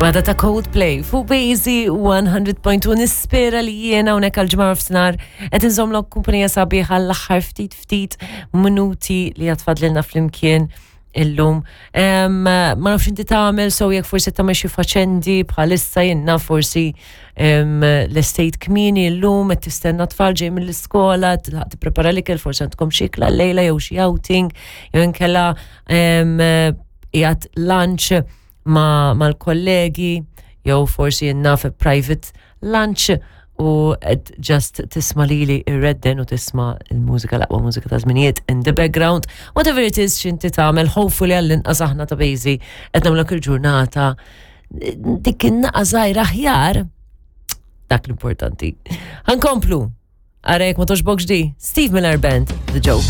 Wada ta' Coldplay fuq Bazy 100.1 nispera li jiena hawnhekk għal ġimgħa f'snar qed inżommlok kumpanija sabiħa l-aħħar ftit ftit minuti li għatfadlilna flimkien illum. Ma nafx inti tagħmel so jekk forsi tagħmel xi faċendi bħalissa jenna forsi l-estate kmieni llum qed tistenna tfal ġej mill-iskola, tilħaq tipprepara l-ikel forsi għandkom xi ikla lejla jew xi outing jew inkella qiegħed lunch mal-kollegi jew forsi naf private lunch u just tisma lili irredden u tisma il-mużika l-aqwa mużika ta' żminijiet in the background. Whatever it is x'inti tagħmel, hopefully għall-inqas aħna ta' bejżi qed nagħmlek il-ġurnata dik in-naqa żgħira aħjar dak l-importanti. Ħankomplu. Ara jekk ma toġbokx di, Steve Miller Band, The Joke.